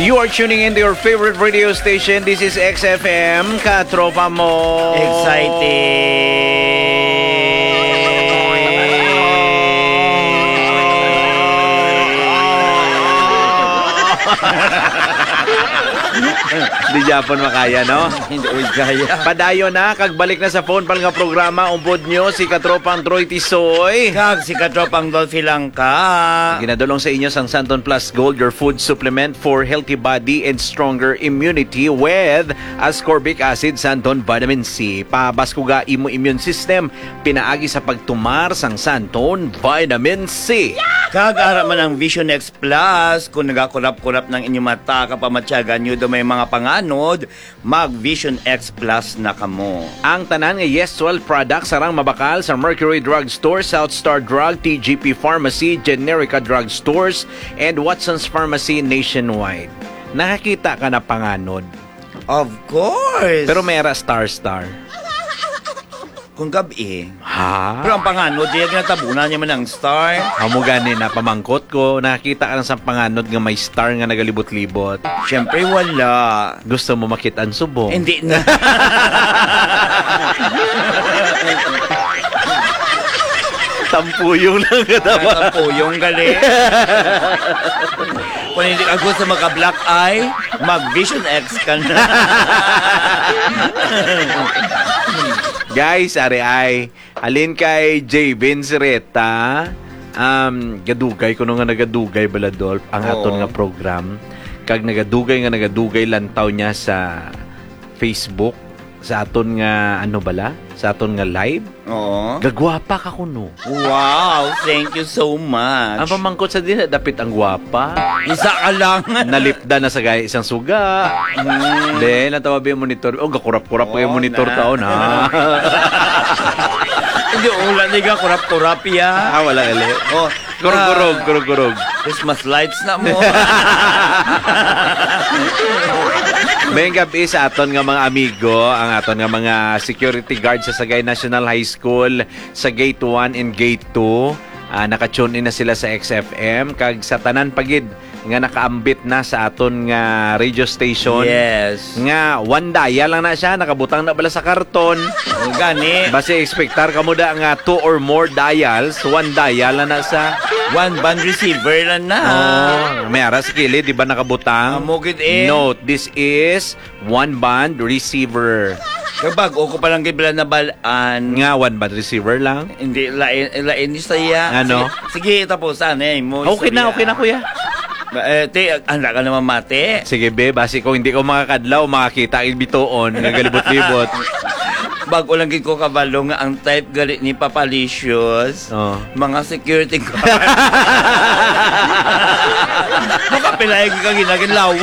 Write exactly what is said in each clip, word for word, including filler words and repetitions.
You are tuning in to your favorite radio station. This is X F M, Katropa Mo. Exciting! Di Japon makaya, no? Hindi, uy, kaya. Padayon na, kag balik na sa phone pal nga programa, umpod nyo si Katropang Troy Tisoy. Kag si Katropang Dolphy Langka. Ginadulong sa inyo sang Santon Plus Gold, your food supplement for healthy body and stronger immunity with ascorbic acid, Santon Vitamin C. Pabaskuga imo immune system, pinaagi sa pagtumar sang Santon Vitamin C. Kag ara man ang Vision X Plus, kung nagakurap-kurap ng inyong mata, kapamatyagan nyo do may mga panganod, mag Vision X Plus na kamo. Ang tanan nga Yes Twelve products sarang mabakal sa Mercury Drug Store, South Star Drug, T G P Pharmacy, Generica Drug Stores, and Watson's Pharmacy nationwide. Nakakita ka na panganod? Of course! Pero may ara star-star. Kung gabi. Ha? Pero ang panganod, di natabunan niya man ang star. Amo gani na pamangkot ko, nakakita ka na sa panganod nga may star nga nagalibot-libot? Siyempre, wala. Gusto mo makita ang subong? Hindi na. Tampuyong lang ka dapat. Tampuyong, gali. Kung hindi ka gusto maka-black eye, mag-Vision X ka na. Guys, ari ay, halin kay J Vince Reta, um, gadugay, kuno nga nagadugay, Baladolf, ang Oo. aton nga program. Kag nagadugay nga nagadugay, lantaw niya sa Facebook, sa aton nga, ano bala? Sa aton nga live. Oo. Gagwapa ka kuno. Wow, thank you so much. Ang pamangkot sa dili, dapit ang gwapa. Isa ka lang. Nalipda na sa gaya isang suga. Mm. Then, natawabi ang monitor. Oh, gakurap-kurap Oh, yung monitor na. taon, ha? Hindi, wala ni ka kurap-kurap, ya. Ah, wala gali. Oh, Kurog-kurog, ah, kurog-kurog. Christmas lights na mo. May gabi sa aton nga mga amigo, ang aton nga mga security guard sa Sagay National High School, sa Gate one and Gate two. Ah, naka-tune in na sila sa X F M, kag sa tanan pa gid nga nakaambit na sa aton nga radio station. Yes. Nga one dial lang na siya, nakabutang na bala sa karton. O, gani. Basi expectar kamo da nga two or more dials, one dial lang na sa One band receiver lang na. Oh, may ara sa kilid, di ba nakabutang? Amo gid eh. Note, this is one band receiver. Kag bag-o ko pa lang gid bala nabal-an. Nga one band receiver lang? Hindi, lain, lain ni saya. Ano? Sige, sige, tapos, ano, eh, mo Okay na, istorya. okay na, kuya. Ba, eh, te, handa ka naman mati. Sige, be, basi kung hindi ko makakadlaw, makakita ang bituon nga galibot-libot. Bag-o lang gid ko kabalo nga ang type gali ni Papalicious. Oh. Mga security guard. Makapilay ka ginagin lawag.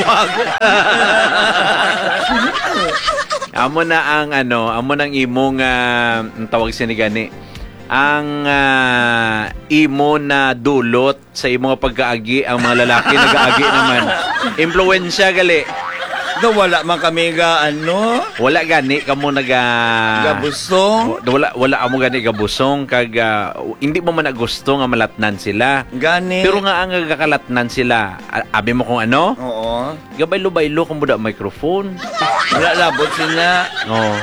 Amo na ang ano, amo nang imong, ah, ang tawag sini gani, ang, ah, imo na dulot sa imo nga pagkaagi, ang mga lalaki nagaagi naman. Impluwensya gali. No, wala man kami ga, ano? Wala gani kamo naga Gabusong? Wa-, wala, wala amo gani gabusong kag, ah, hindi mo man na gusto nga malatnan sila. Gani. Pero nga ang nagakalatnan sila, a-, abi mo kung ano? Oo. Gabaylo-baylo kamo da microphone. Wala labot sila. Oo.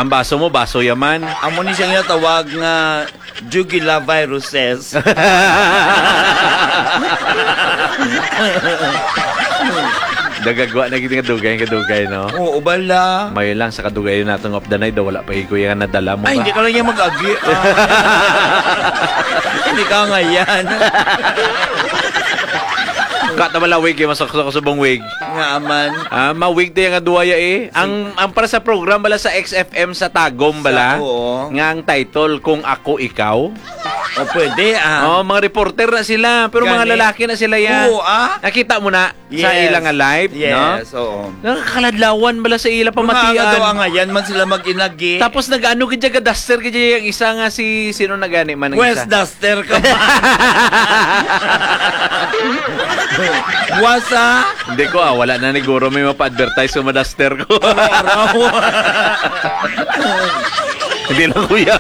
Ang baso mo, baso yaman. Amo ni siya nga tawag nga Jugila viruses. Dagagwa na gid nga dugay, nga dugay, no? Oo, bala. May lang sa kadugay nato nga updanay daw wala pa ikaw yung nadala mo Ay, ba? hindi ka lang yung mag-agi. Ah. Hindi ka ngayon. Kata wala wig, yung masaksak sa bong wig. Nga aman. Ah, ma-wig tayo nga duwaya eh. Ang, ang para sa program bala sa X F M sa Tagum bala, Sa, oo. nga ang title, Kung Ako Ikaw. O, pwede, ah. Oh, mga reporter na sila, pero mga Gani. lalaki na sila yan. Oo, ah. Nakita mo na sa Yes. ila nga live, no? Yes, oo. Nakakaladlawan bala sa ila Mga pamatian. nga daw, angayan man sila mag-inagi. Tapos nag-ano gid siya, ga-duster gid siya yung isa nga si, sino na gani man ang Wes isa? Duster ka ba? Wasa? Hindi ko, ah, wala na ni Guro may mapa-advertise sa madaster ko. Araw-araw. Hindi lang, kuya.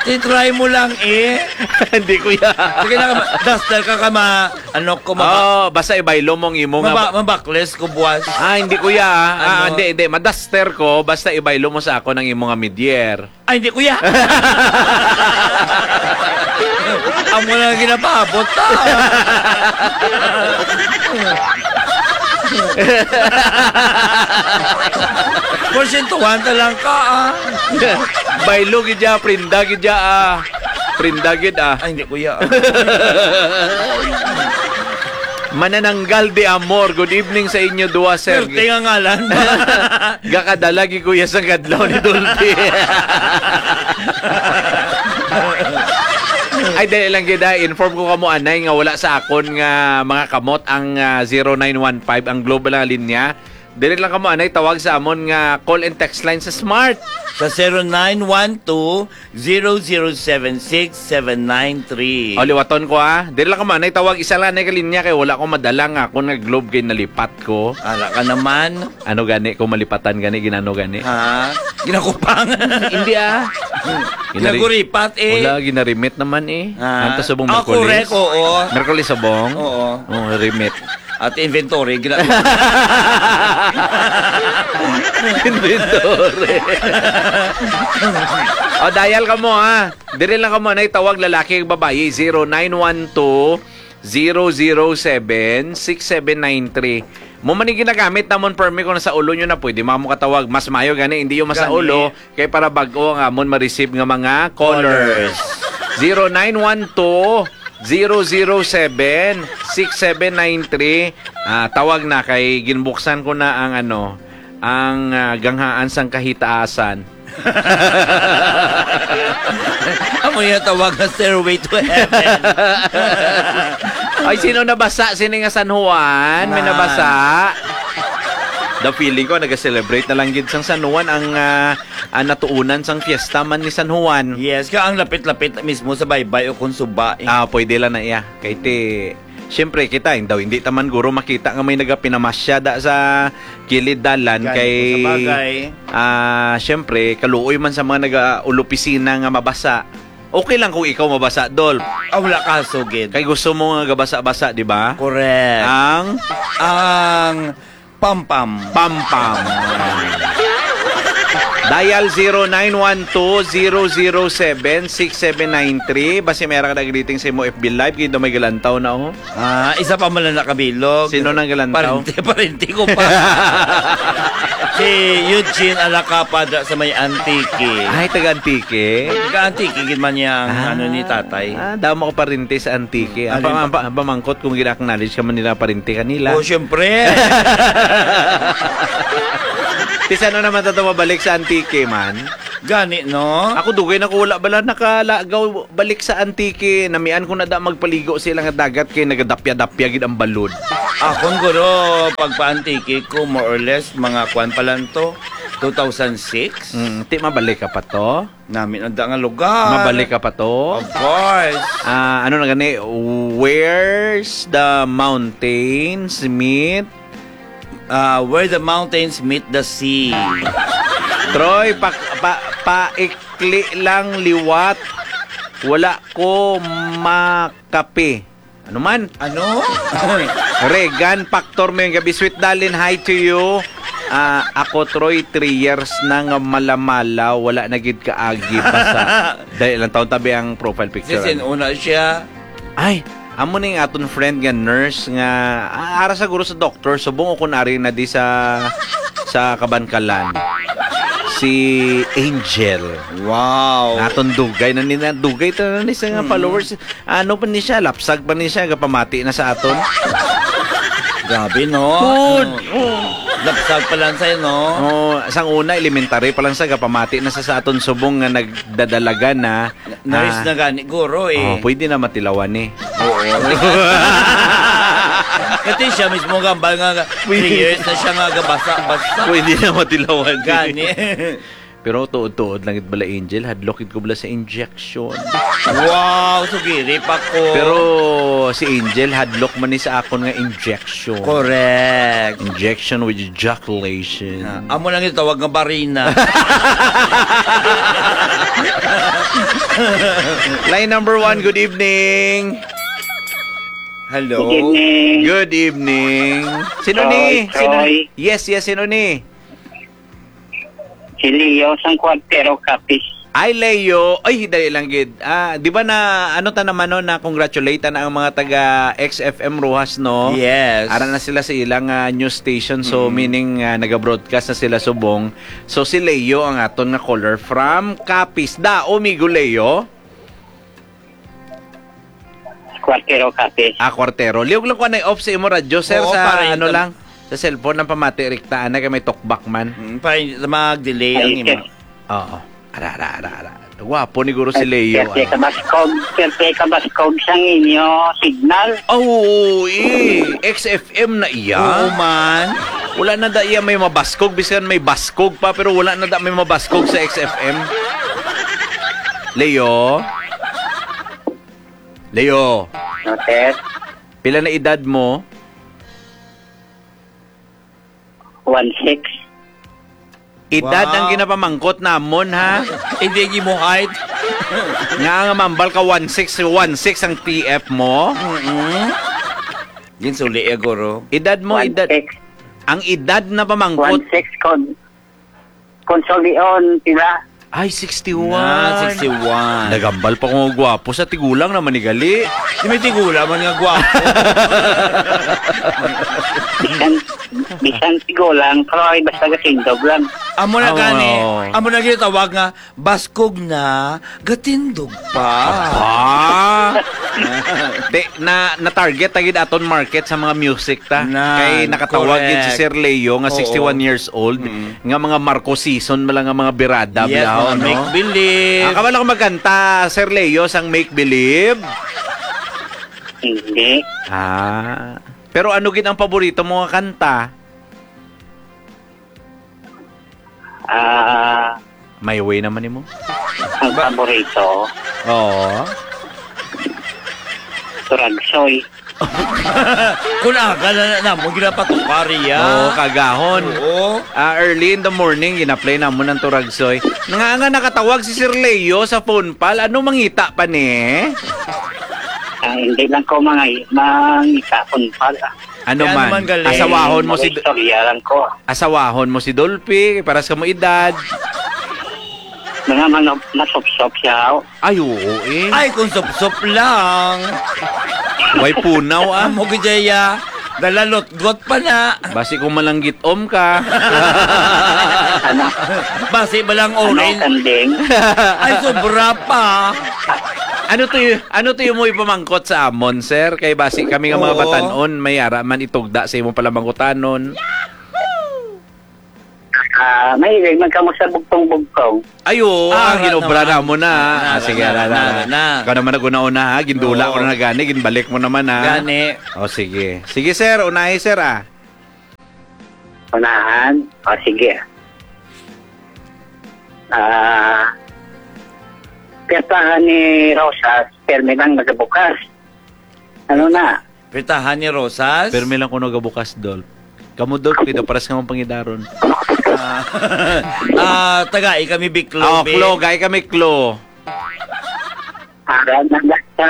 Titry mo lang, eh. Hindi, kuya. Sige na, duster ka, ka ma-, ano ko, maba- Oh, basta ibaylo mo ang imo nga maba-, ba- mabakles ko buwas. Ah, hindi, kuya. Ah, Ano? hindi, hindi. Madaster ko, basta ibaylo mo sa ako ng imo nga midyer. Ay, hindi, kuya. Amo na ang ginapaabot, ah. Porsyento one ta lang ka, ah. Baylo gid ya, prinda gid ya, ah. Prinda gid, ah. Ay, hindi, kuya, ah. Manananggal de Amor, good evening sa inyo duha, sir. Swerte nga ngalan. Gakadala gi kuya sa kadlaw ni Dolphy. Ay, dali lang gid, ah. Inform ko kamo anay nga wala sa akon nga mga kamot ang, ah, zero nine one five, ang Globe lang linya. Dili lang kamo anay tawag sa amon nga call and text line sa Smart. Sa zero nine one two, zero zero seven six seven nine three. O, liwaton ko, ah. Dili lang kamo anay tawag, isa lang anay ka linya kay wala ko madala nga akon nga Globe kay nalipat ko. Ala ka naman. Ano gani kung malipatan gani, ginano gani? Ha? Ginakupangan. Hindi, ah. Ginari- Ginaguripat, eh. Wala, ginarimit naman, eh. Ha? Anto subong Ah, Merkulis? correct, oo. Merkulis subong? Oo. Oo, remit. At inventory, gina- Inventory. O, dial kamo, ha. Diri lang kamo anay tawag, lalaki ug babayi, zero nine one two, zero zero seven, six seven nine three. Mo man ni ginagamit namon permi kung nasa ulo nyo na, pwede man mo katawag. Mas mayo gani, hindi yung masa Gani. ulo, kay para bag-o ang amon ma-receive nga mga callers. Callers. Zero nine one two, zero zero seven, six seven nine three. Ah, tawag na kay ginbuksan ko na ang ano, ang, ah, ganghaan sang kahitaasan. Amo yung tawag nga stairway to heaven. Ay, sino nabasa? Sino nga San Juan? May Na. nabasa? The feeling ko, nag-celebrate na lang gid sang San Juan ang, ah, ang natuunan sang fiesta man ni San Juan. Yes, ka ang lapit-lapit mismo sa baybay o kung suba, eh. Ah, pwede lang na iya. Kay ti, siyempre, kita, daw hindi taman guro makita nga may nagapinamasya da sa kilid dalan Gani kay, ko sa bagay. ah, siyempre, kaluoy man sa mga nag-, ah, ulupisina nga mabasa. Okay lang kung ikaw mabasa, Dol. Ah, wala kaso, gid. Kay gusto mo nga gabasa-basa, di ba? Correct. Ang Ang pampam. Pampam. Dial zero nine one two, zero zero seven, six seven nine three. Basi may ara ka na greeting sa imo F B Live, kay daw may galantaw na, oh. Ah, isa pa man lang nakabilog. Sino nang galantaw? Parente, parente ko pa. Si Eugene Alacapa da sa may Antique. Ay, taga Antique? Taga Antique, gid man niya ang Ah. ano ni tatay. Ah, damo ko parente sa Antique. Ang Alin pa-, pa? ang pa-, ang pamangkot kung gina-acknowledge ka man nila parente kanila. Oh, syempre. Ti, sano naman ta to mabalik sa Antique, man? Gani, no? Ako, dugay na ko wala bala nakalagaw balik sa Antique. Namian ko na da magpaligo sila nga dagat kay nagadapya-dapya gid ang balod. Akon, guro, pagpa-Antique ko, more or less, mga kwan pa lang to, two thousand six? Mm, ti mabalik ka pa to? Nami na da nga lugar. Mabalik ka pa to? Of course. Ah, ano na gani? Where's the mountains meet? Ah, where the mountains meet the sea. Troy, pa, pa, paikli lang liwat. Wala ko makape. Ano man? Ano? Regan, Factor mo yung gabi. Sweet Darling, hi to you. Ah, ako, Troy, three years na nga malamala, wala na gid kaagi. Basa. Dahil ilang taon tabi ang profile picture, Sisin, ano? Una siya. Ay, amo ning aton friend nga nurse nga, ah, ara siguro sa doktor, subong o kun ari na di sa, sa Kabankalan. Si Angel. Wow. Aton dugay na ni, na dugay ta na ni sa nga Mm. followers. Ano pa ni siya? Lapsag pa ni siya, gapamati na sa aton. Grabe, no? Good. Ano? Lapsag pa lang sa'yo, no? Oh, sang una, elementary pa lang siya, gapamati na sa, sa aton subong nga nagdadalagan na. Na-, nurse Ah. na gani, guro, eh. Oh, pwede na matilawan, eh. Oo. Kasi siya mismo gambal nga, Pwede. Three years na siya nga gabasa-basa. Pwede na matilawan, eh. Gani. Pero tuod-tuod lang gid bala, Angel, hadlok gid ko bala sa injection. Wow, sugiri pa ko. Pero si Angel, hadlok man ni sa akon nga injection. Correct. Injection with ejaculation. Ah, amo lang yung tawag nga barina. Line number one, good evening. Hello. Good evening. Good evening. Sino Troy, ni? Sino Troy. Yes, yes, sino ni? Si Leo sang Cuartero, Capiz. Ay, Leo. Ay, dali lang gid. Ah, di ba na, ano ta naman, no, na congratulate na ang mga taga X F M Roxas, no? Yes. Ara na sila sa ilang, ah, news station. So, Mm. meaning, ah, naga-broadcast na sila subong. So, si Leo ang aton nga caller from Capiz. Dao, migo Leo? Cuartero, Capiz. Ah, Cuartero. Liog lang ko na off sa imo radyo, sir, Oo, sa para ano ito lang, sa cellphone lang pamati rikta, ana kay may talkback man. Mm, para hindi mag-delay ang Ay, imo. Sir. Oo. Ara, ara, ara, ara. Gwapo ni guro si Leo, Sir, ah. Kabaskog, Sir, Kabaskog sang inyo signal. Ah, oo, eh. X F M na iya. Oo, man. Wala na da iya may mabaskog, bisan may baskog pa, pero wala na da may mabaskog sa X F M. Leo? Leo? No, sir. Pila na edad mo? One six. Edad ang Wow. ginapamangkot namon, ha? Hindi, hindi mo height. Nga nga mambal ka one six, one six ang T F mo? Mm-mm. Ginsuli, eh, guro. Edad mo, One edad. six. Ang edad na pamangkot. One six kon-, konsulion sila. Ay, sixty-one. Ah, sixty-one. Nagambal pa ko nga gwapo. Sa tigulang naman ni gali. Di may tigulang man nga gwapo. Bisan, bisan tigulang, pero ay basta gasindog lang. Amo na Ah, gani. Oo. Amo na ginatawag nga baskog na, gatindog pa. Aba! Te, na, na-target ta gid aton market sa mga music ta. Na, Kay nakatawag gid si correct. Sir Leo nga Oo. sixty-one years old, Mm. nga mga Marcos season man lang nga mga birada, Yes, bilaw, mga no? Make Believe. Ah, kabalo ko magkanta, Sir Leo, sang Make Believe? Hindi. Ah. Pero ano gid ang paborito mo nga kanta? Ah. My Way naman nimo. Ang paborito? Oo. Turagsoy. Kung aga na, na, mo ginapatukari ya. Oo, kagahon. Oo. Ah, early in the morning, gina-play namon ang Turagsoy. Nga nga nakatawag si Sir Leo sa phone pal, ano mangita pa ni? Ah, hindi lang ko mga mangita phone pal, ah. Ano Kaya man, naman galing. asawahon mo Mga si Do-, istorya lang ko. asawahon mo si Dolphy, paras ka mo edad. Mga manop-, masopsop siya, oh. Ay, oo, eh. Ay, kung supsop lang. Way punaw, ah. Amo gid ya. Dalalotgot pa na. Basi kung malanggit-om ka. Ano? Basi ba lang Ano, orange? kanding? Ay, sobra pa. Ano to y-, ano to yung mo ipamangkot sa amon, sir? Kay basi kami nga mga Oo. batanon, may ara man itugda sa imong palamangkutanon. Ah, mahilig man kamo sa bugtong-bugtong. Ay, oo, Ah, ah, ginobra na, na mo na, ah, ah, ah, sige, na, na, na, na, na, na. na. Ikaw naman nag-una-una, ha? Gindula Oo. ko na gani, ginbalik mo naman, ha? Gani. O, sige. Sige, sir, unahi, sir, ah. Unahan? O, sige. Ah, piyersahan ni Rosas, permi lang nagabukas. Ano na? Pitahan ni Rosas? Permi lang kuno gabukas, Dol. Kamo, Dol, kita paras ka mong pangidaron. Ah, ah, tagai kami biklo, Oh, bi. Klo, gai kami, Klo. Para na sa,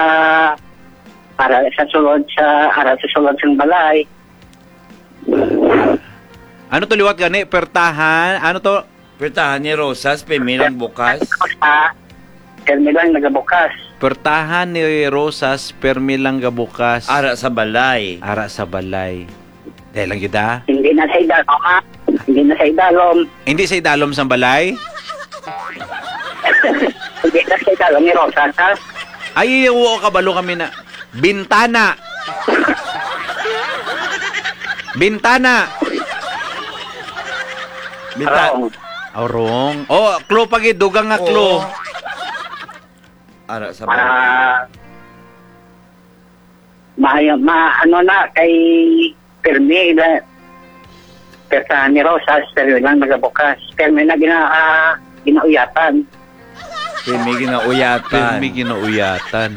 para sa sulod sa, para sa sulod sang balay. Ano to liwat gani? Pertahan? Ano to? Pertahan ni Rosas, permi lang bukas. Sa, permi lang nagabukas. Pertahan ni Rosas, permi lang gabukas. Ara sa balay. Ara sa balay. Dahil lang yun, ah. Hindi na sa idalom, ha? Hindi na sa idalom. Hindi sa idalom sang balay? Hindi na sa idalom ni Rosas, ha? Ay, oo, kabalo kami na. Bintana. Bintana. Binta- Wrong. Oh, wrong. Oh, clue pa gid, dugang nga clue. Oo. Ara sa Ah, maayo, ma-, ano na, kay permi la-, pertahan ni Rosas, permi lang nagabukas. Permi na gina-, ah, ginauyatan. Pirmi ginauyatan. Pirmi ginauyatan.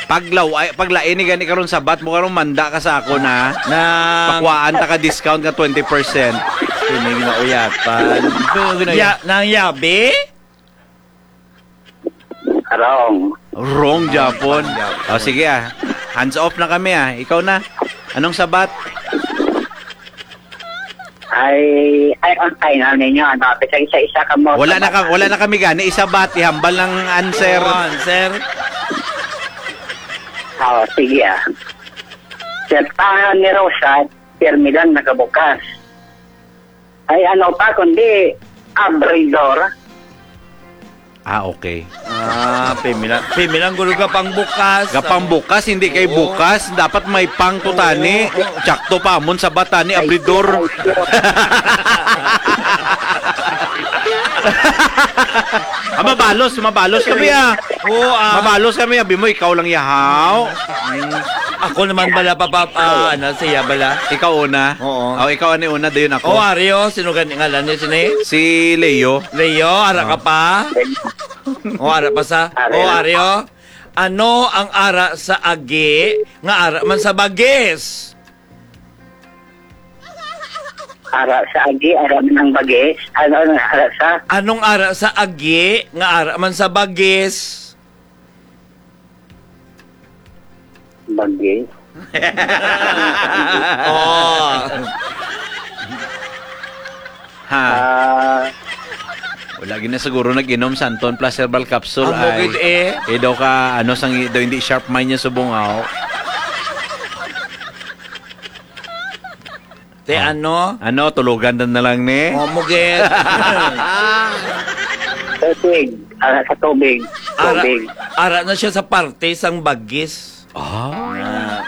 Paglaw-, ay, paglain ni gani karon sabat mo karon, manda ka sa ako na. Na pakuhaan ta ka discount nga twenty percent. Pirmi ginauyatan. Pero gina- Ya, nang yabi? Wrong. Wrong, Japon. Japon. O, sige, ah. Hands off na kami, ah. Ikaw na. Anong sabat? Ay, ay, ang final ninyo, ano, bisag isa-isa ka mo. Wala na ka, wala na kami gani. Isa ba? Ihambal ng answer. Oo, answer. Oh, sige, ah. Siyertahan ni Rosa, pirmi lang nakabukas. Ay, ano pa, kundi abridor. Ah, okay. Ah, pimilang, pimilang gulo gapang bukas. Gapang bukas, hindi kay Oo. bukas. Dapat may pang to Oo. tani. Tsakto pa, amon sa bata ni Ay, abridor. ay, Ah, mabalos, mabalos kami, ah. Oo, ah. Mabalos kami, abi mo, ikaw lang yahaw. Mm. Ako naman bala, papa, ah, ano, siya bala. Ikaw una? Oo. Oh, ikaw ani una, dayon ako. Oh, Ario, sino gani ngalan niya, sini? Si Leo. Leo, ara ka Oh. pa? Oh, ara pa sa? Ario. Oh, Ario. Ano ang ara sa agi nga ara man sa bagis? Ara sa agi, ara man ang bagis. Ano, ano, ara sa? Anong ara sa agi nga ara man sa bagis? Bagis? Oh. Ha? Ah. Wala gid na siguro nag-inom sa Anton Plus Herbal Capsule Ang ay. Bukid eh. Eh, daw ka, ano, sang, daw hindi sharp mind niya subong, aw. Te, Oh. ano? Ano, tulugan na, na lang ni? Oh, mugit. Tubig. Ara sa tubig. Ara, Tubig. ara na siya sa parte sang bagis. Ah. Ah.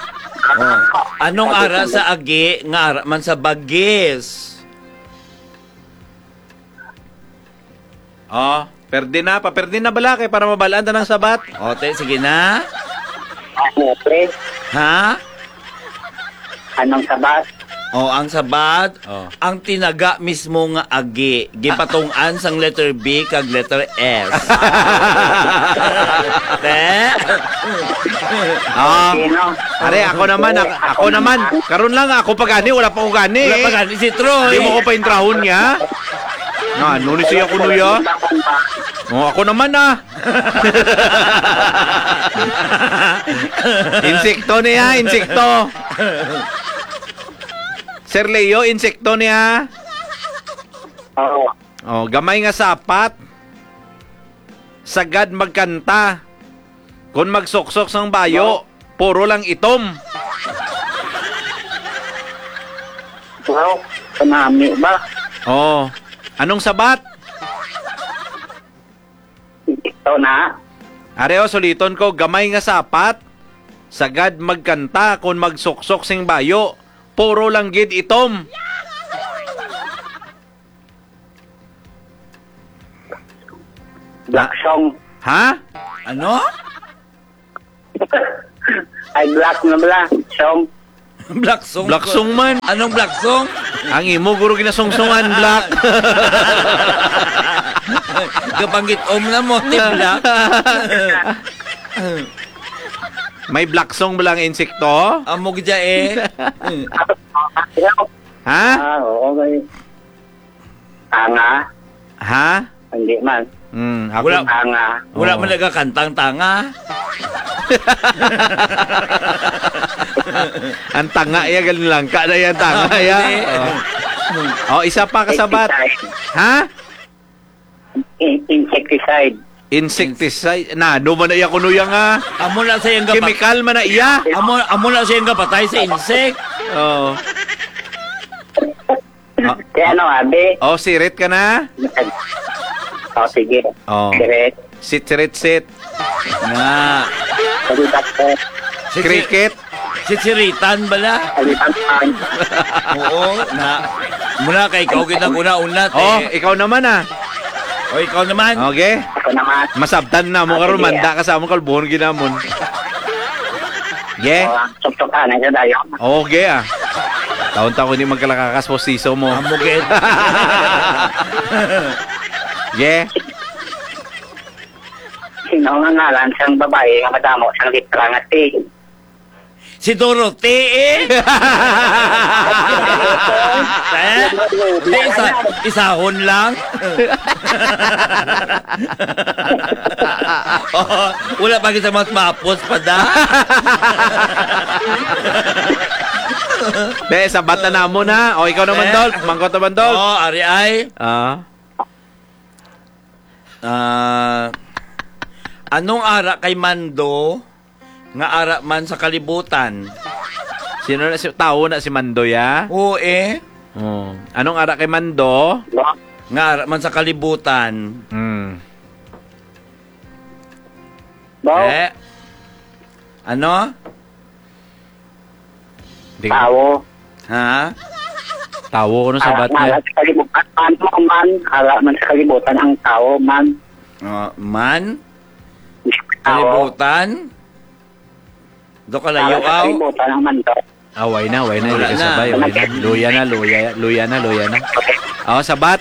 Oh. Anong ara sa agi nga ara man sa bagis? Oh, perde na, paperde na bala kay para mabalaan ta ng sabat. Ote, sige na. Ano, pre? Ha? Anong sabat? Oh, ang sabat, Oh. ang tinaga mismo nga agi, gipatungod sang letter B kag letter S. Te? Ah, Sino? Are, ako naman, ako, ako naman. Karon lang, ako pa gani, wala pa ko gani. Wala pa gani si Troy. Di mo ko paintrahon niya. Nga, ano ni siya kuno ya? Oh, ako naman, ah. Insekto niya, insekto. Sir Leo, insekto niya. Oo. Oh, gamay nga sapat. Sagad magkanta. Kon magsuksok sang bayo, puro lang itom. Wow, kanami ba? Oh. Anong sabat? Ito na. Are, oh, suliton ko, gamay nga sapat. Sagad magkanta kon magsuksok sing bayo. Puro lang gid itom. Black song. Ha? Ano? Ay, black na bala. Song. Black song. Black song man. Anong black song? Ang imo, guro, ginasongsungan, black. Gabanggit om na mo, ti black. May black song ba lang insekto? Amo gid eh. Ha? Ah, oo, may Tanga? Ha? Hindi man. Mm, ako Wala. Tanga. Wala Oo. man nagakantang tanga. Ang tanga iya, galing lang ka na yan, tanga Ah, iya. hindi. Oh. Oh, isa pa kasabat. Insecticide. Ha? In-, insecticide. Insecticide. Na, ano man na iya kuno iya nga? Amo na sa iyang gapa- Chemical man na iya. Amo, amo na sa iyang gapatay sa insect. Oo. Ah, Kaya ano, abi? Oh, sirit ka na? Oh, sige. Oh. Sirit. Sit, sirit, sit. Nga. Sabi, doctor. Si, si, Cricket. Si Siritan bala? Sabi, doctor. Oo, na. Muna kay ikaw gid ang una-una, te. Oh, ikaw naman, ah. O, ikaw naman. Okay. Ako naman. Masabtan na mo Ah, karon, sige, manda ah. ka sa among kalbuhon ginamon. Yeah. Oh, tuktukan na siya tayo. Okay, ah. Taon-taon ni magkalakakas po siso mo. Amo gid. Yeah. Sino nga ngalan sang babayi nga madamo sang letra nga T? Si Dorothy, eh. Eh? Di isa, isahon lang. Oh, wala pa kita mas mapos pa da. Be, sabat na namo na. O, ikaw naman, Eh? Dolph. Mangkot naman, Dolph. Oh, ari ay. Ah. Ah, anong ara kay Mando nga ara man sa kalibutan? Sino na si, tawo na si Mando, ya? Oo, eh. Oh. Anong ara kay Mando? Ba? Nga ara man sa kalibutan. Hmm. Ba? Eh? Ano? Di ko Tawo. Ha? Tawo, ano Ara sabat man niya? sa kalibutan. Ano man, ara man sa kalibutan ang tawo, man. Ah, man? Tawo. Kalibutan? Do ka Ara layo, sa aw? kalibutan ang man to. Ah, way na, way na, Wala hindi ka na. sabay, way na. Luya na, luya, luya na, luya na. Oh, sabat.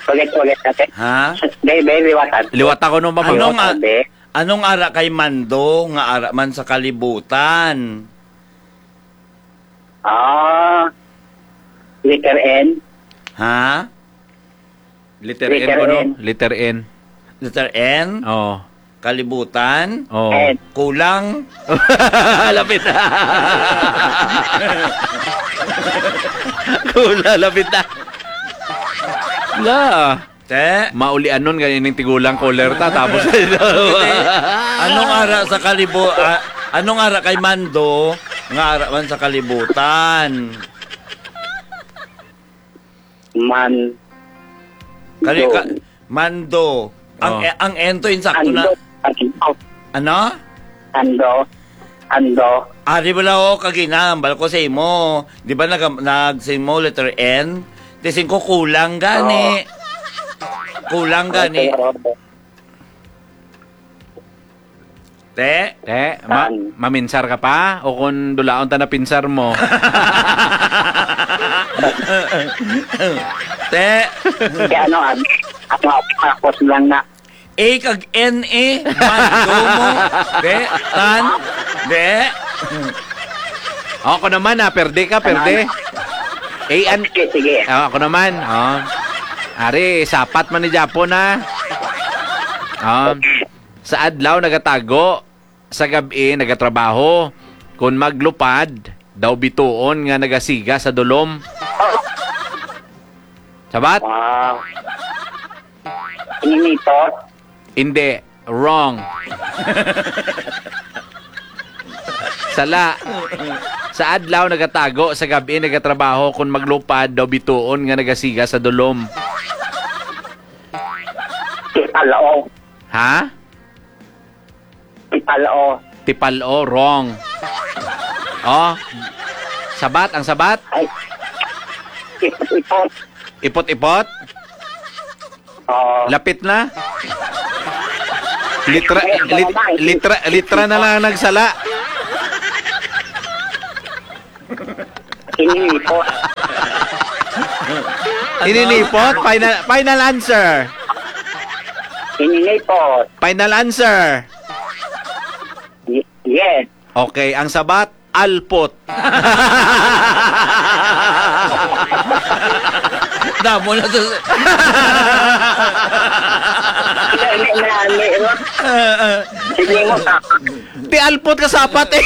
Ulit, ulit natin. Ha? Be, be, liwatan. Liwat ako nung Ano pamangkot. nga, Sabi. Anong ara kay Mando nga ara man sa kalibutan? Ah, letter N. Ha? Letter N Letter ko, no? N. Letter N. Letter N? Oo. Kalibutan? Oo. N. Kulang? Lapit na. Kulang, lapit na. La. Te? Maulianon gani ning tigulang caller ta, tapos Hindi. Anong ara sa kalibu-, ah, anong ara kay Mando nga ara man sa kalibutan? Man. Kali-, Do. ka-, Mando. Ang, Oh. eh, ang ento insakto na. Ando. Ando. Ano? Ando. Ando. Ari bala, oh, kag ginahambal ko sa imo. Di ba nag-, nag-, sa imo, letter N? Ti singko kulang gani. Oo. Kulang gani. Okay, oo. Te? Te, ma-, Tan. maminsar ka pa? O kung dulaon ta na pinsar mo? Te? Kaya ano, ano, ano, ako, tapos lang na. A kag N A, Mando mo. De, tan, de. Ako naman, ah, perde ka, perde. A and Sige, sige. Ah, ako naman, oh. Ari, sapat man ni Japon, ah. Oh. Sa adlaw nagatago, sa gab-i nagatrabaho. Kon maglupad, daw bituon nga nagasiga sa dulom. Sabat? Ah. Ininitot? Hindi. Wrong. Sala. Sa adlaw nagatago, sa gab-i nagatrabaho, kon maglupad daw bituon nga nagasiga sa dulom. Tipalo. Ha? Tipalo. Tipalo, wrong. Oh. Sabat, ang sabat? Ay. Ipot-ipot. Ipot-ipot? Oo. Lapit na. Litra, Ay, lit-, tama, eh. litra, litra na lang ang nagsala. Ininipot. Ininipot? Final, final answer. Ininipot. Final answer. Y-, yes. Okay, ang sabat, alpot. Damo na to. Dali na, ano, ano? Ah, ah. Sige mo, Ti alpot ka sapat eh.